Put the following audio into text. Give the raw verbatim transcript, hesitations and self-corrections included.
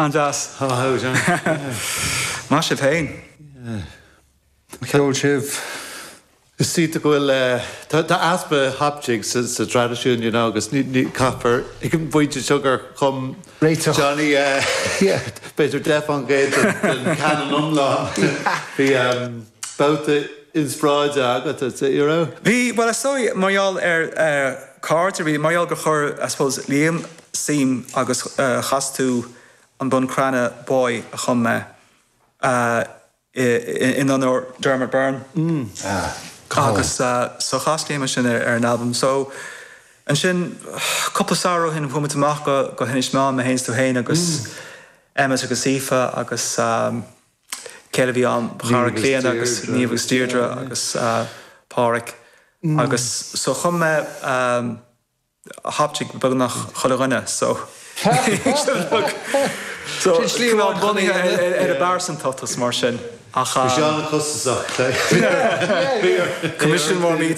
An-deas. How John? Maith sibh féin. Ceol sibh. Is cinnte go bhfuil tá easpa hop jig sa sa traidisiún you know, agus ní ní caithfear ag an bpointe seo gur chum Réiteach. Johnny b'fhéidir deich faoin gcéad den canon iomlán. Bhí um, babhta inspioráide agat you know? Bhí well is dóigh mar gheall ar uh, cairde bhí mar gheall gur chuir I suppose Liam suim agus uh, chas tú an Buncrana Boy a chum mé uh, in onóir Dermot Byrne. Mm. agus uh, so chas Liam sin ar, ar an album. So ansin cúpla samhradh ó shin chuaigh muid amach go go hInis Meáin mé féin tú féin agus mm. Emmet agus Aoife agus um, céile bhí an chara Cliona agus Niamh agus Deirdre agus uh, Pádraig mm. agus so chum mé um, hop jig beagnach chuile dhuine so so bunaithe ar a bpearsantacht mar sin ach Bhí sé an-chostasach. Commission mór mí